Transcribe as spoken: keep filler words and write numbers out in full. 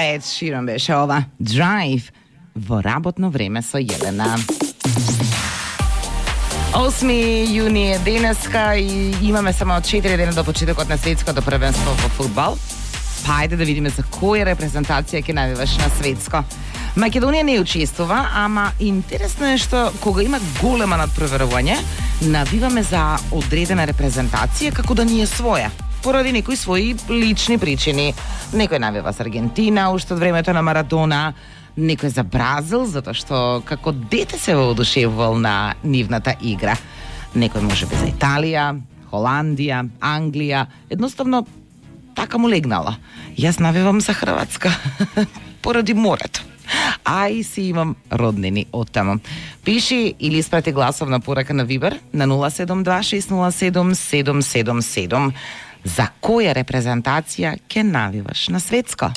Ed Sheeran беше ова. Drive во работно време со Јелена. осми јуни е денеска и имаме само четири дена до почетокот на светското првенство во фудбал. Па ајде да видиме за која репрезентација ќе навиваш на светско. Македонија не учествува, ама интересно е што кога има голема надпроверување, навиваме за одредена репрезентација како да ни е своја, поради некои своји лични причини. Некој навива за Аргентина уште од времето на Марадона, некој за Бразил, затоа што како дете се воодушевувал на нивната игра. Некој можеби за Италија, Холандија, Англија, едноставно така му легнала. Јас навивам за Хрватска, поради морето. А и си имам роднини оттаму. Пиши или испрати гласовна порака на Вибер на нула седум два шест нула седум седум седум седум. За која репрезентација ќе навиваш на светско?